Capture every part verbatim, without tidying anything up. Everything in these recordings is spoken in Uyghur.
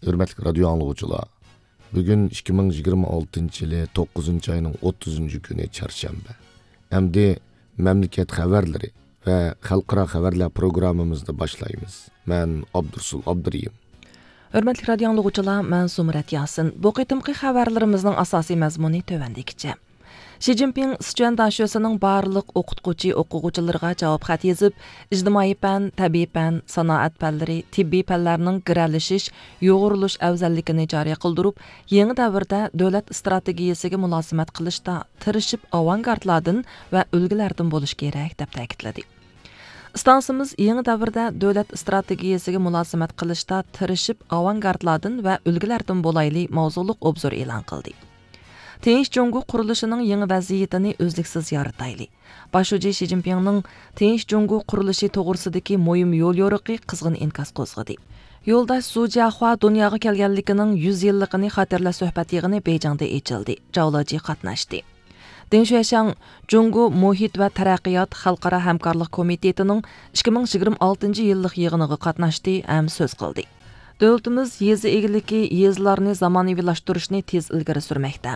ھۆرمەتلىك رادىيو ئاڭلىغۇچىلار، بۈگۈن ئىككى مىڭ يىگىرمە ئالتىنچى يىلى توققۇزىنچى ئاينىڭ ئوتتۇزىنچى كۈنى، چارشەنبە. ئەمدى مەملىكەت خەۋەرلىرى ۋە خەلقئارا خەۋەرلەر پروگراممىمىزنى باشلايمىز. مەن ئابدۇرسۇل ئابدۇرېھىم. ھۆرمەتلىك رادىيو ئاڭلىغۇچىلار، مەن زۇمرەت ياسىن. بۇ قېتىمقى خەۋەرلىرىمىزنىڭ ئاساسىي مەزمۇنى تۆۋەندىكىچە. شى جىنپىڭ سىچۈەن داشۆسىنىڭ بارلىق ئوقۇتقۇچى ئوقۇغۇچىلىرىغا جاۋاب خەت يېزىپ، ئىجتىمائىي پەن، تەبىئىي پەن، سانائەت پەنلىرى، تېببىي پەنلەرنىڭ گىرەلىشىش، يۇغۇرۇلۇش ئەۋزەللىكىنى جارى قىلدۇرۇپ، يېڭى دەۋردە دۆلەت ئىستراتېگىيەسىگە مۇلازىمەت قىلىشتا تىرىشىپ ئاۋانگارتلاردىن ۋە ئۈلگىلەردىن بولۇش كېرەك، دەپ تەكىتلىدى. ئىستانسىمىز يېڭى دەۋردە دۆلەت ئىستراتېگىيەسىگە مۇلازىمەت قىلىشتا تىرىشىپ ئاۋانگارتلاردىن ۋە ئۈلگىلەردىن بولايلى ماۋزۇلۇق ئوبزور ئېلان قىلدى. تىنچ جۇڭگو قۇرۇلۇشىنىڭ يېڭى ۋەزىيىتىنى ئۈزلۈكسىز يارىتايلى. باش شۇجى شى جىنپىڭنىڭ تىنچ جۇڭگو قۇرۇلۇشى توغرىسىدىكى مۇھىم يوليورۇقى قىزغىن ئىنكاس قوزغىدى. يولداش سۇ جياخۇا دۇنياغا كەلگەنلىكىنىڭ يۈز يىللىقىنى خاتىرىلەش سۆھبەت يىغىنى بېيجىڭدا ئېچىلدى. جاۋ لېجى قاتناشتى. دىڭ شۈەشياڭ جۇڭگو مۇھىت ۋە تەرەققىيات خەلقئارا ھەمكارلىق كومىتېتىنىڭ ئىككى مىڭ يىگىرمە ئالتىنچى يىللىق يىغىنىغا قاتناشتى ھەم سۆز قىلدى. دۆلىتىمىز يېزا ئىگىلىكى، يېزىلارنى زامانىۋىلاشتۇرۇشنى تېز ئىلگىرى سۈرمەكتە.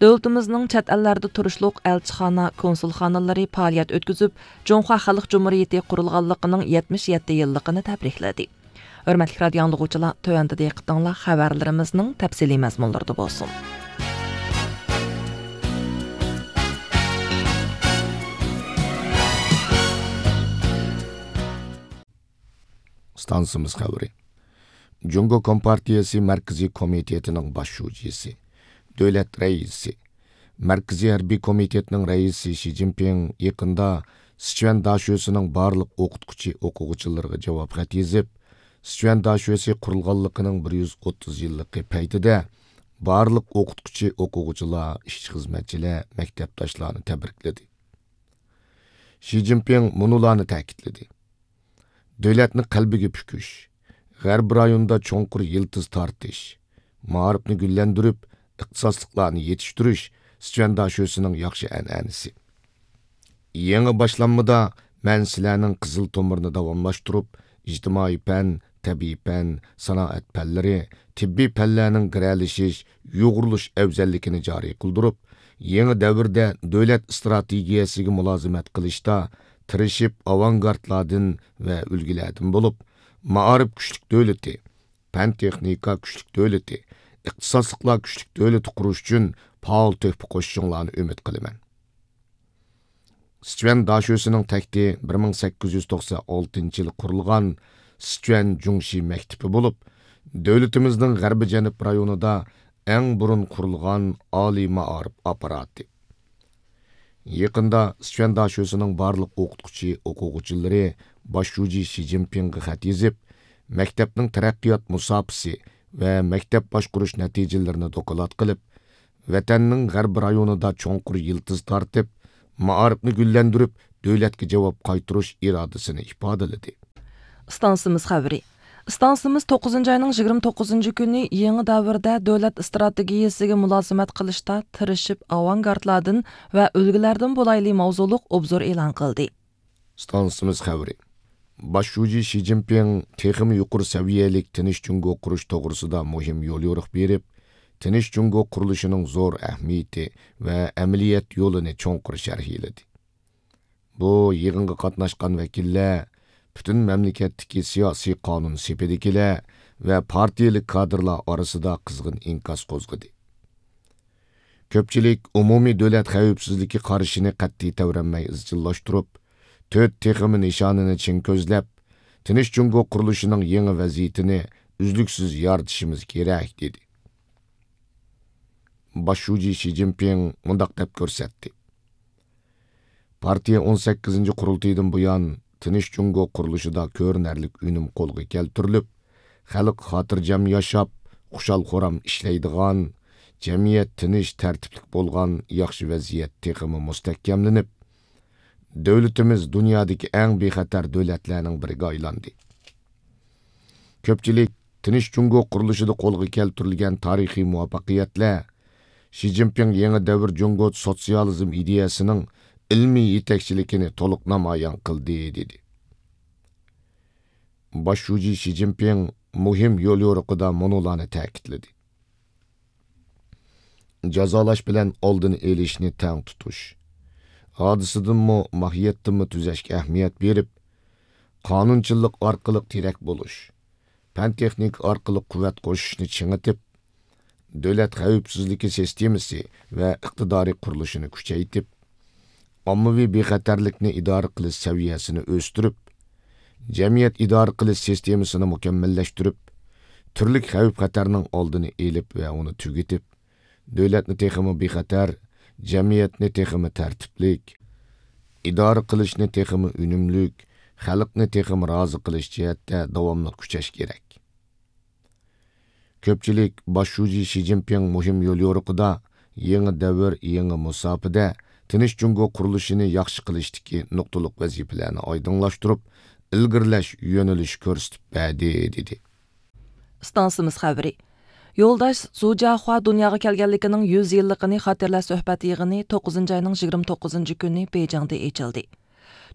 دۆلىتىمىزنىڭ چەت ئەللەردە تۇرۇشلۇق ئەلچىخانا، كونسۇلخانىلىرى پائالىيەت ئۆتكۈزۈپ، جۇڭخۇا خەلق جۇمھۇرىيىتى قۇرۇلغانلىقىنىڭ يەتمىش يەتتە يىللىقىنى تەبرىكلىدى. ھۆرمەتلىك رادىيو ئاڭلىغۇچىلار، تۆۋەندە دىققىتىڭلار خەۋەرلىرىمىزنىڭ تەپسىلىي مەزمۇنلىرىدا بولسۇن. ئىستانسىمىز خەۋىرى. جۇڭگو كومپارتىيەسى مەركىزىي كومىتېتىنىڭ باش شۇجىسى، دۆلەت رەئىسى، مەركىزىي ھەربىي كومىتېتنىڭ رەئىسى شى جىنپىڭ يېقىندا سىچۈەن داشۆسىنىڭ بارلىق ئوقۇتقۇچى ئوقۇغۇچىلىرىغا جاۋاب خەت يېزىپ، سىچۈەن داشۆسى قۇرۇلغانلىقىنىڭ بىر يۈز ئوتتۇز يىللىقى پەيتىدە بارلىق ئوقۇتقۇچى ئوقۇغۇچىلار، ئىشچى خىزمەتچىلەر، مەكتەپداشلارنى تەبرىكلىدى. شى جىنپىڭ مۇنۇلارنى تەكىتلىدى: دۆلەتنى قەلبىگە پۈكۈش، غەربىي رايوندا چوڭقۇر يىلتىز تارتىش، مائارىپنى گۈللەندۈرۈپ، ئىختىساسلىقلارنى يېتىشتۈرۈش سىچۈەن داشۆسىنىڭ ياخشى ئەنئەنىسى. يېڭى باشلانمىدا مەن سىلەرنىڭ قىزىل تومۇرىنى داۋاملاشتۇرۇپ، ئىجتىمائىي پەن، تەبىئىي پەن، سانائەت پەنلىرى، تېببىي پەنلەرنىڭ گىرەلىشىش، يۇغۇرۇلۇش ئەۋزەللىكىنى جارى قىلدۇرۇپ، يېڭى دەۋردە دۆلەت ئىستراتېگىيەسىگە مۇلازىمەت قىلىشتا تىرىشىپ ئاۋانگارتلاردىن ۋە ئۈلگىلەردىن بولۇپ، مائارىپ كۈچلۈك دۆلىتى، پەن تېخنىكا كۈچلۈك دۆلىتى، ئىختىساسلىقلار كۈچلۈك دۆلىتى قۇرۇش ئۈچۈن پائال تۆھپە قوشۇشۇڭلارنى ئۈمىد قىلىمەن. سىچۈەن داشۆسىنىڭ تەكتى بىر مىڭ سەككىز يۈز توقسان ئالتىنچى يىلى قۇرۇلغان سىچۈەن جۇڭشى مەكتىپى بولۇپ، دۆلىتىمىزنىڭ غەربىي جەنۇب رايونىدا ئەڭ بۇرۇن قۇرۇلغان ئالىي مائارىپ ئاپپاراتى. يېقىندا سىچۈەن داشۆسىنىڭ بارلىق ئوقۇتقۇچى ئوقۇغۇچىلىرى باش شۇجى شى جىنپىڭغا خەت يېزىپ، مەكتەپنىڭ تەرەققىيات مۇساپىسى ۋە مەكتەپ باشقۇرۇش نەتىجىلىرىنى دوكلات قىلىپ، ۋەتەننىڭ غەربىي رايونىدا چوڭقۇر يىلتىز تارتىپ، مائارىپنى گۈللەندۈرۈپ، دۆلەتكە جاۋاب قايتۇرۇش ئىرادىسىنى ئىپادىلىدى. ئىستانسىمىز خەۋىرى. ئىستانسىمىز توققۇزىنچى ئاينىڭ يىگىرمە توققۇزىنچى كۈنى يېڭى دەۋردە دۆلەت ئىستراتېگىيەسىگە مۇلازىمەت قىلىشتا تىرىشىپ ئاۋانگارتلاردىن ۋە ئۈلگىلەردىن بولايلى ماۋزۇلۇق ئوبزور ئېلان قىلدى. ئىستانسىمىز خەۋىرى. باش شۇجى شى جىنپىڭ تېخىمۇ يۇقىرى سەۋىيەلىك تىنچ جۇڭگو قۇرۇش توغرىسىدا مۇھىم يوليورۇق بېرىپ، تىنچ جۇڭگو قۇرۇلۇشىنىڭ زور ئەھمىيىتى ۋە ئەمەلىيەت يولىنى چوڭقۇر شەرھلىدى. بۇ يىغىنغا قاتناشقان ۋەكىللەر پۈتۈن مەملىكەتتىكى سىياسىي قانۇن سېپىدىكىلەر ۋە پارتىيەلىك كادىرلار ئارىسىدا قىزغىن ئىنكاس قوزغىدى. كۆپچىلىك ئومۇمىي دۆلەت خەۋپسىزلىكى قارىشىنى قەتئىي تەۋرەنمەي ئىزچىللاشتۇرۇپ، تۆت تېخىمۇ نىشانىنى چىڭ كۆزلەپ، تىنچ جۇڭگو قۇرۇلۇشىنىڭ يېڭى ۋەزىيىتىنى ئۈزلۈكسىز يارىتىشىمىز كېرەك، دېدى. باش شۇجى شى جىنپىڭ مۇنداق دەپ كۆرسەتتى: پارتىيە ئون سەككىزىنچى قۇرۇلتىيىدىن بۇيان، تىنچ جۇڭگو قۇرۇلۇشىدا كۆرۈنەرلىك ئۈنۈم قولغا كەلتۈرۈلۈپ، خەلق خاتىرجەم ياشاپ، خۇشال-خۇرام ئىشلەيدىغان، جەمئىيەت تىنچ، تەرتىپلىك بولغان ياخشى ۋەزىيەت تېخىمۇ مۇستەھكەملىنىپ، دۆلىتىمىز دۇنيادىكى ئەڭ بىخەتەر دۆلەتلەرنىڭ بىرىگە ئايلاندى. كۆپچىلىك تىنچ جۇڭگو قۇرۇلۇشىدا قولغا كەلتۈرۈلگەن تارىخىي مۇۋەپپەقىيەتلەر شى جىنپىڭ يېڭى دەۋر جۇڭگو سوتسىيالىزم ئىدىيەسىنىڭ ئىلمىي يېتەكچىلىكىنى تولۇق نامايان قىلدى، دېدى. باش شۇجى شى جىنپىڭ مۇھىم يوليورۇقىدا مۇنۇلارنى تەكىتلىدى: جازالاش بىلەن ئالدىنى ئېلىشنى تەڭ تۇتۇش، ھادىسىدىنمۇ، ماھىيەتتىنمۇ تۈزەشكە ئەھمىيەت بېرىپ، قانۇنچىللىق ئارقىلىق تىرەك بولۇش، پەن تېخنىكا ئارقىلىق قۇۋۋەت قوشۇشنى چىڭىتىپ، دۆلەت خەۋپسىزلىكى سىستېمىسى ۋە ئىقتىدارى قۇرۇلۇشىنى كۈچەيتىپ، ئاممىۋى بىخەتەرلىكنى ئىدارە قىلىش سەۋىيەسىنى ئۆستۈرۈپ، جەمئىيەت ئىدارە قىلىش سىستېمىسىنى مۇكەممەللەشتۈرۈپ، تۈرلۈك خەۋپ-خەتەرنىڭ ئالدىنى ئېلىپ ۋە ئۇنى تۈگىتىپ، دۆلەتنى تېخىمۇ بىخەتەر، جەمئىيەتنى تېخىمۇ تەرتىپلىك، ئىدارە قىلىشنى تېخىمۇ ئۈنۈملۈك، خەلقنى تېخىمۇ رازى قىلىش جەھەتتە داۋاملىق كۈچەش كېرەك. كۆپچىلىك باش شۇجى شى جىنپىڭ مۇھىم يوليورۇقىدا يېڭى دەۋر، يېڭى مۇساپىدە تىنچ جۇڭگو قۇرۇلۇشىنى ياخشى قىلىشتىكى نۇقتىلىق ۋەزىپىلەرنى ئايدىڭلاشتۇرۇپ، ئىلگىرىلەش يۆنىلىشى كۆرسىتىپ بەردى، دېدى. ئىستانسىمىز خەۋىرى. يولداش زۇ جياخۇا دۇنياغا كەلگەنلىكىنىڭ يۈز يىللىقىنى خاتىرىلەش سۆھبەت يىغىنى توققۇزىنچى ئاينىڭ يىگىرمە توققۇزىنچى كۈنى بېيجىڭدا ئېچىلدى.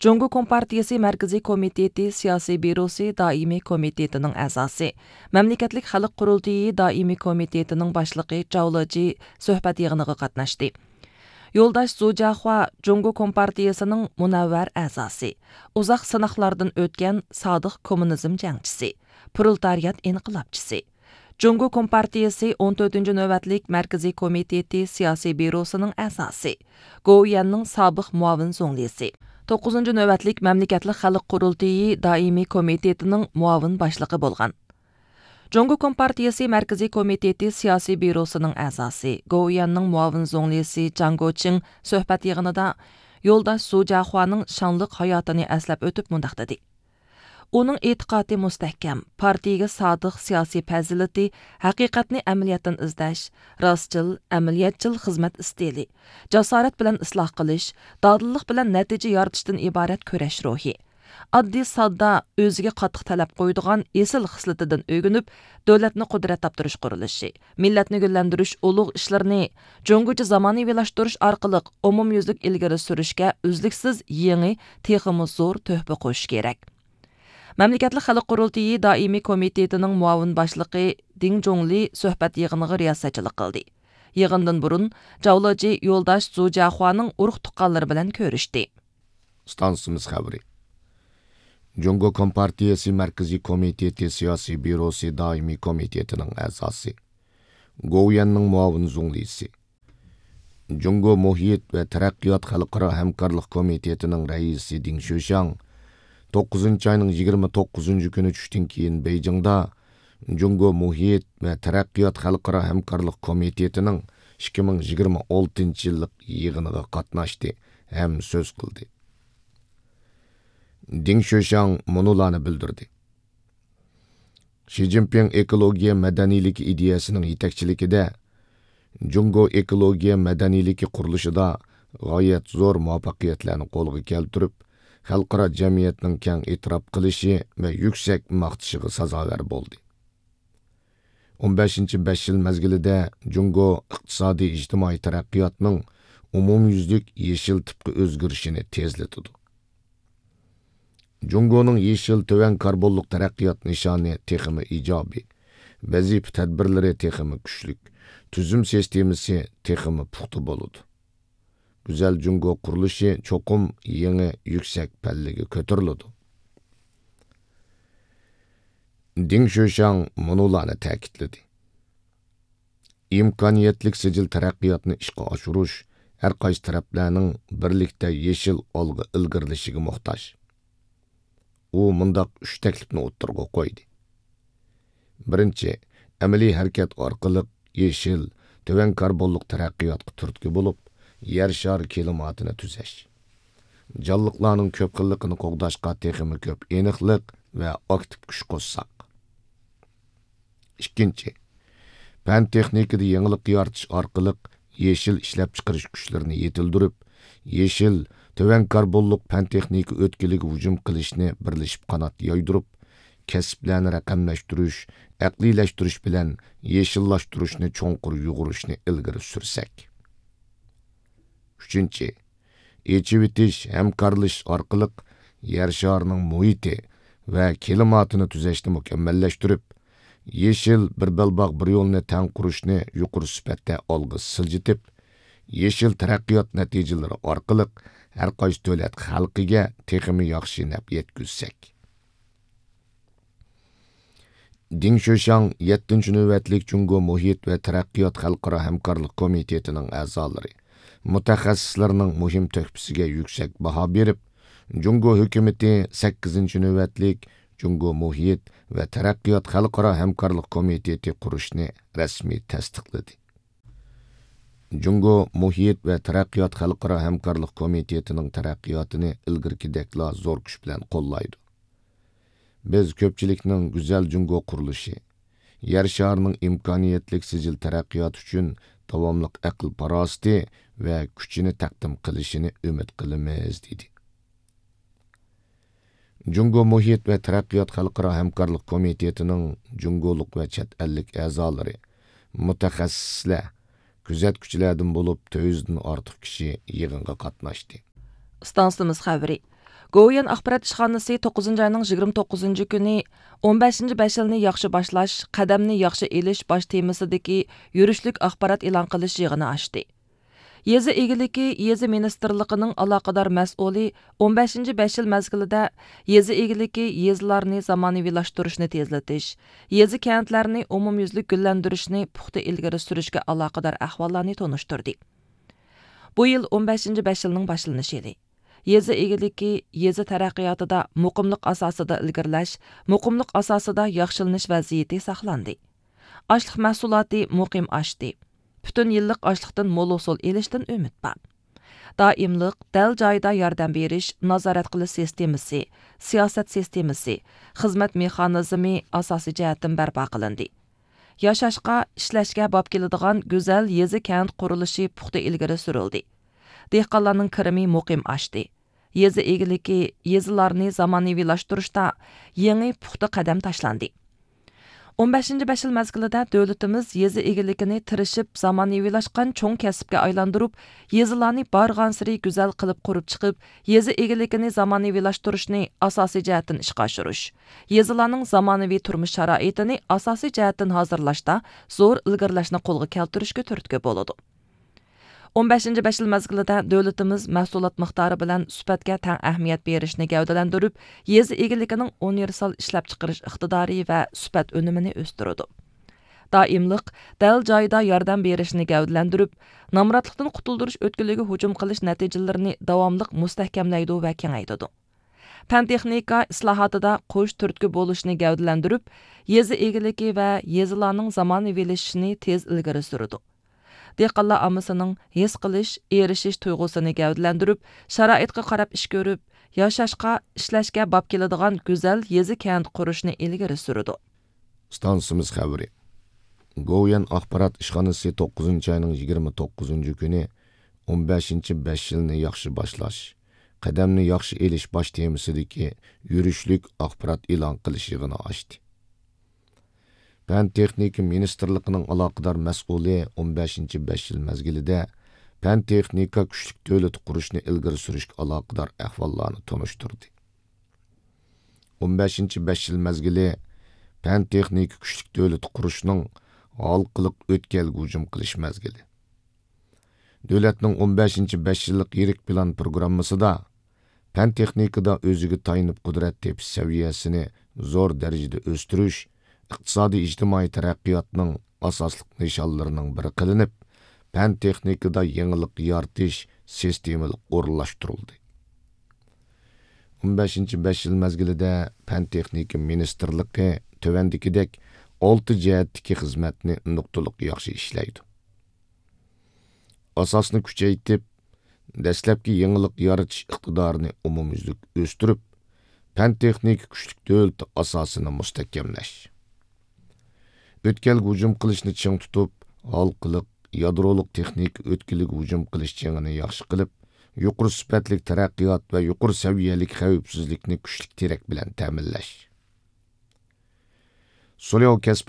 جۇڭگو كومپارتىيىسى مەركىزىي كومىتېتى سىياسىي بيۇروسى دائىمىي كومىتېتىنىڭ ئەزاسى، مەملىكەتلىك خەلق قۇرۇلتىيى دائىمىي كومىتېتىنىڭ باشلىقى جاۋ لېجى سۆھبەت يىغىنىغا قاتناشتى. يولداش زۇ جياخۇا جۇڭگو كومپارتىيىسىنىڭ مۇنەۋۋەر ئەزاسى، ئۇزاق سىناقلاردىن ئۆتكەن سادىق كوممۇنىزم جەڭچىسى، پرولېتارىيات ئىنقىلابچىسى، جۇڭگو كومپارتىيىسى ئون تۆتىنچى نۆۋەتلىك مەركىزىي كومىتېتى سىياسىي بيۇروسىنىڭ ئەزاسى، گوۋۇيۈەننىڭ سابىق مۇئاۋىن زۇڭلىسى، توققۇزىنچى نۆۋەتلىك مەملىكەتلىك خەلق قۇرۇلتىيى دائىمىي كومىتېتىنىڭ مۇئاۋىن باشلىقى بولغان. جۇڭگو كومپارتىيىسى مەركىزىي كومىتېتى سىياسىي بيۇروسىنىڭ ئەزاسى، گوۋۇيۈەننىڭ مۇئاۋىن زۇڭلىسى جاڭ گوچىڭ سۆھبەت يىغىنىدا يولداش زۇ جياخۇانىڭ شانلىق ھاياتىنى ئەسلەپ ئۆتۈپ مۇنداق دېدى: ئۇنىڭ ئېتىقادى مۇستەھكەم، پارتىيىگە سادىق سىياسىي پەزىلىتى، ھەقىقەتنى ئەمەلىيەتتىن ئىزدەش، راستچىل، ئەمەلىيەتچىل خىزمەت ئىستىلى، جاسارەت بىلەن ئىسلاھ قىلىش، دادىللىق بىلەن نەتىجە يارىتىشتىن ئىبارەت كۈرەش روھى، ئاددىي ساددا، ئۆزىگە قاتتىق تەلەپ قويىدىغان ئېسىل خىسلىتىدىن ئۆگىنىپ، دۆلەتنى قۇدرەت تاپتۇرۇش قۇرۇلۇشى، مىللەتنى گۈللەندۈرۈش ئۇلۇغ ئىشلىرىنى جۇڭگوچە زامانىۋىلاشتۇرۇش ئارقىلىق ئومۇميۈزلۈك ئىلگىرى سۈرۈشكە ئۈزلۈكسىز يېڭى، تېخىمۇ زور تۆھپە قوشۇش كېرەك. مەملىكەتلىك خەلق قۇرۇلتىيى دائىمىي كومىتېتىنىڭ مۇئاۋىن باشلىقى دىڭ جۇڭلى سۆھبەت يىغىنىغا رىياسەتچىلىك قىلدى. يىغىندىن بۇرۇن جاۋ لېجى يولداش زۇ جياخۇانىڭ ئۇرۇق تۇغقانلىرى بىلەن كۆرۈشتى. ئىستانسىمىز خەۋىرى. جۇڭگو كومپارتىيىسى مەركىزىي كومىتېتى سىياسىي بيۇروسى دائىمىي كومىتېتىنىڭ ئەزاسى، گوۋۇيۈەننىڭ مۇئاۋىن زۇڭلىسى، جۇڭگو مۇھىت ۋە تەرەققىيات خەلقئارا ھەمكارلىق كومىتېتىنىڭ رەئىسى دىڭ شۆشياڭ توققۇزىنچى ئاينىڭ يىگىرمە توققۇزىنچى كۈنى چۈشتىن كېيىن بېيجىڭدا جۇڭگو مۇھىت ۋە تەرەققىيات خەلقئارا ھەمكارلىق كومىتېتىنىڭ ئىككى مىڭ يىگىرمە ئالتىنچى يىللىق يىغىنىغا قاتناشتى ھەم سۆز قىلدى. دىڭ شۆشياڭ مۇنۇلارنى بىلدۈردى: شى جىنپىڭ ئېكولوگىيە مەدەنىيلىكى ئىدىيەسىنىڭ يېتەكچىلىكىدە جۇڭگو ئېكولوگىيە مەدەنىيلىكى قۇرۇلۇشىدا غايەت زور مۇۋەپپەقىيەتلەرنى قولغا كەلتۈرۈپ، خەلقئارا جەمئىيەتنىڭ كەڭ ئېتىراپ قىلىشى ۋە يۈكسەك ماختىشىغا سازاۋەر بولدى. ئون بەشىنچى بەش يىل مەزگىلىدە جۇڭگو ئىقتىسادىي ئىجتىمائىي تەرەققىياتنىڭ ئومۇميۈزلۈك يېشىل تىپقا ئۆزگىرىشىنى تېزلىتىدۇ. جۇڭگونىڭ يېشىل تۆۋەن كاربونلۇق تەرەققىيات نىشانى تېخىمۇ ئىجابىي، ۋەزىپە تەدبىرلىرى تېخىمۇ كۈچلۈك، تۈزۈم سىستېمىسى تېخىمۇ پۇختا بولىدۇ. گۈزەل جۇڭگو قۇرۇلۇشى چوقۇم يېڭى يۈكسەك پەللىگە كۆتۈرۈلىدۇ. دىڭ شۆشياڭ مۇنۇلارنى تەكىتلىدى: ئىمكانىيەتلىك سىجىل تەرەققىياتنى ئىشقا ئاشۇرۇش ھەر قايسى تەرەپلەرنىڭ بىرلىكتە يېشىل ئالغا ئىلگىرىلىشىگە موھتاج. ئۇ مۇنداق ئۈچ تەكلىپنى ئوتتۇرىغا قويدى. بىرىنچى، ئەمەلىي ھەرىكەت ئارقىلىق يېشىل، تۆۋەن كاربونلۇق تەرەققىياتقا تۈرتكە بولۇپ، يەر شارى كىلىماتىنى تۈزەش. جانلىقلارنىڭ كۆپ خىللىقىنى قوغداشقا تېخىمۇ كۆپ ئېنىقلىق ۋە ئاكتىپ كۈچ قوشساق. ئىككىنچى، پەن تېخنىكىدا يېڭىلىق يارىتىش ئارقىلىق يېشىل ئىشلەپچىقىرىش كۈچلىرىنى يېتىلدۈرۈپ، يېشىل، تۆۋەن كاربونلۇق پەن تېخنىكا ئۆتكىلىگە ھۇجۇم قىلىشنى بىرلىشىپ قانات يايدۇرۇپ، كەسىپلەرنى رەقەملەشتۈرۈش، ئەقلىيلەشتۈرۈش بىلەن يېشىللاشتۇرۇشنى چوڭقۇر يۇغۇرۇشنى ئىلگىرى سۈرسەك. ئۈچىنچى، ئېچىۋېتىش، ھەمكارلىشىش ئارقىلىق يەر شارىنىڭ مۇھىتى ۋە كىلىماتىنى تۈزەشنى مۇكەممەللەشتۈرۈپ، يېشىل بىر بەلباغ بىر يولنى تەڭ قۇرۇشنى يۇقىرى سۈپەتتە ئالغا سىلجىتىپ، يېشىل تەرەققىيات نەتىجىلىرى ئارقىلىق ھەر قايسى دۆلەت خەلقىگە تېخىمۇ ياخشى نەپ يەتكۈزسەك. دىڭ شۆشياڭ يەتتىنچى نۆۋەتلىك جۇڭگو مۇھىت ۋە تەرەققىيات خەلقئارا ھەمكارلىق كومىتېتىنىڭ ئەزالىرى، مۇتەخەسسىسلەرنىڭ مۇھىم تۆھپىسىگە يۈكسەك باھا بېرىپ، جۇڭگو ھۆكۈمىتى سەككىزىنچى نۆۋەتلىك جۇڭگو مۇھىت ۋە تەرەققىيات خەلقئارا ھەمكارلىق كومىتېتى قۇرۇشنى رەسمىي تەستىقلىدى. جۇڭگو مۇھىت ۋە تەرەققىيات خەلقئارا ھەمكارلىق كومىتېتىنىڭ تەرەققىياتىنى ئىلگىرىكىدەكلا زور كۈچ بىلەن قوللايدۇ. بىز كۆپچىلىكنىڭ گۈزەل جۇڭگو قۇرۇلۇشى، يەر شارىنىڭ ئىمكانىيەتلىك سىجىل تەرەققىياتى ئۈچۈن داۋاملىق ئەقىل-پاراسىتى ۋە كۈچىنى تەقدىم قىلىشىنى ئۈمىد قىلىمىز، دېدى. جۇڭگو مۇھىت ۋە تەرەققىيات خەلقئارا ھەمكارلىق كومىتېتىنىڭ جۇڭگولۇق ۋە چەت ئەللىك ئەزالىرى، مۇتەخەسسىسلەر، كۆزەتكۈچىلەردىن بولۇپ تۆت يۈزدىن ئارتۇق كىشى يىغىنغا قاتناشتى. ئىستانسىمىز خەۋىرى. گوۋۇيۈەن ئاخبارات ئىشخانىسى توققۇزىنچى ئاينىڭ يىگىرمە توققۇزىنچى كۈنى ئون بەشىنچى بەش يىلنى ياخشى باشلاش، قەدەمنى ياخشى ئېلىش باش تېمىسىدىكى يۈرۈشلۈك ئاخبارات ئېلان قىلىش يىغىنى ئاچتى. يېزا ئىگىلىكى، يېزا مىنىستىرلىقىنىڭ ئالاقىدار مەسئۇلى ئون بەشىنچى بەش يىل مەزگىلىدە يېزا ئىگىلىكى، يېزىلارنى زامانىۋىلاشتۇرۇشنى تېزلىتىش، يېزا، كەنتلەرنى ئومۇميۈزلۈك گۈللەندۈرۈشنى پۇختا ئىلگىرى سۈرۈشكە ئالاقىدار ئەھۋاللارنى تونۇشتۇردى. بۇ يىل ئون بەشىنچى بەش يىلنىڭ باشلىنىش يىلى. يېزا ئىگىلىكى، يېزا تەرەققىياتىدا مۇقىملىق ئاساسىدا ئىلگىرىلەش، مۇقىملىق ئاساسىدا ياخشىلىنىش ۋەزىيىتى ساقلاندى. ئاشلىق مەھسۇلاتى مۇقىم ئاشتى. پۈتۈن يىللىق ئاشلىقتىن مول ھوسۇل ئېلىشتىن ئۈمىد بار. دائىملىق، دەل جايىدا ياردەم بېرىش، نازارەت قىلىش سىستېمىسى، سىياسەت سىستېمىسى، خىزمەت مېخانىزمى ئاساسىي جەھەتتىن بەرپا قىلىندى. ياشاشقا، ئىشلەشكە باب كېلىدىغان گۈزەل يېزا، كەنت قۇرۇلۇشى پۇختا ئىلگىرى سۈرۈلدى. دېھقانلارنىڭ كىرىمى مۇقىم ئاشتى. يېزا ئىگىلىكى، يېزىلارنى زامانىۋىلاشتۇرۇشتا يېڭى پۇختا قەدەم تاشلاندى. ئون بەشىنچى بەش يىل مەزگىلىدە دۆلىتىمىز يېزا ئىگىلىكىنى تىرىشىپ زامانىۋىلاشقان چوڭ كەسىپكە ئايلاندۇرۇپ، يېزىلارنى بارغانسېرى گۈزەل قىلىپ قۇرۇپ چىقىپ، يېزا ئىگىلىكىنى زامانىۋىلاشتۇرۇشنى ئاساسىي جەھەتتىن ئىشقا ئاشۇرۇش، يېزىلارنىڭ زامانىۋى تۇرمۇش شارائىتىنى ئاساسىي جەھەتتىن ھازىرلاشتا زور ئىلگىرىلەشنى قولغا كەلتۈرۈشكە تۈرتكە بولىدۇ. ئون بەشىنچى بەش يىل مەزگىلىدە دۆلىتىمىز مەھسۇلات مىقدارى بىلەن سۈپەتكە تەڭ ئەھمىيەت بېرىشنى گەۋدىلەندۈرۈپ، يېزا ئىگىلىكىنىڭ ئۇنىۋېرسال ئىشلەپچىقىرىش ئىقتىدارى ۋە سۈپەت ئۈنۈمىنى ئۆستۈرىدۇ. دائىملىق، دەل جايىدا ياردەم بېرىشنى گەۋدىلەندۈرۈپ، نامراتلىقتىن قۇتۇلدۇرۇش ئۆتكىلىگە ھۇجۇم قىلىش نەتىجىلىرىنى داۋاملىق مۇستەھكەملەيدۇ ۋە كېڭەيتىدۇ. پەن تېخنىكا ئىسلاھاتىدا قوش تۈرتكە بولۇشنى گەۋدىلەندۈرۈپ، يېزا ئىگىلىكى ۋە يېزىلارنىڭ زامانىۋىلىشىشىنى تېز ئىلگىرى سۈرىدۇ. دېھقانلار ئاممىسىنىڭ ھېس قىلىش، ئېرىشىش تۇيغۇسىنى گەۋدىلەندۈرۈپ، شارائىتقا قاراپ ئىش كۆرۈپ، ياشاشقا، ئىشلەشكە باب كېلىدىغان گۈزەل يېزا، كەنت قۇرۇشنى ئىلگىرى سۈرىدۇ. ئىستانسىمىز خەۋىرى. گوۋۇيۈەن ئاخبارات ئىشخانىسى توققۇزىنچى ئاينىڭ يىگىرمە توققۇزىنچى كۈنى ئون بەشىنچى بەش يىلنى ياخشى باشلاش، قەدەمنى ياخشى ئېلىش باش تېمىسىدىكى يۈرۈشلۈك ئاخبارات ئېلان قىلىش يىغىنى ئاچتى. پەن تېخنىكا مىنىستىرلىقىنىڭ ئالاقىدار مەسئۇلى ئون بەشىنچى بەش يىل مەزگىلىدە پەن تېخنىكا كۈچلۈك دۆلىتى قۇرۇشنى ئىلگىرى سۈرۈشكە ئالاقىدار ئەھۋاللارنى تونۇشتۇردى. ئون بەشىنچى بەش يىل مەزگىلى پەن تېخنىكا كۈچلۈك دۆلىتى قۇرۇشنىڭ ھالقىلىق ئۆتكەلگە ھۇجۇم قىلىش مەزگىلى. دۆلەتنىڭ ئون بەشىنچى بەش يىللىق يىرىك پىلان پروگراممىسىدا پەن تېخنىكىدا ئۆزىگە تايىنىپ قۇدرەت تېپىش سەۋىيەسىنى زور دەرىجىدە ئۆستۈرۈش ئىقتىسادىي ئىجتىمائىي تەرەققىياتنىڭ ئاساسلىق نىشانلىرىنىڭ بىرى قىلىنىپ، پەن تېخنىكىدا يېڭىلىق يارىتىش سىستېمىلىق ئورۇنلاشتۇرۇلدى. ئون بەشىنچى بەش يىل مەزگىلىدە پەن تېخنىكا مىنىستىرلىقى تۆۋەندىكىدەك ئالتە جەھەتتىكى خىزمەتنى نۇقتىلىق ياخشى ئىشلەيدۇ. ئاساسنى كۈچەيتىپ، دەسلەپكى يېڭىلىق يارىتىش ئىقتىدارىنى ئومۇميۈزلۈك ئۆستۈرۈپ، پەن تېخنىكا كۈچلۈك دۆلىتى ئاساسىنى مۇستەھكەملەش. ئۆتكەلگە ھۇجۇم قىلىشنى چىڭ تۇتۇپ، ھالقىلىق، يادرولۇق تېخنىكا ئۆتكىلىگە ھۇجۇم قىلىش جېڭىنى ياخشى قىلىپ، يۇقىرى سۈپەتلىك تەرەققىيات ۋە يۇقىرى سەۋىيەلىك خەۋپسىزلىكنى كۈچلۈك تىرەك بىلەن تەمىنلەش. سۇلياۋ كەسىپ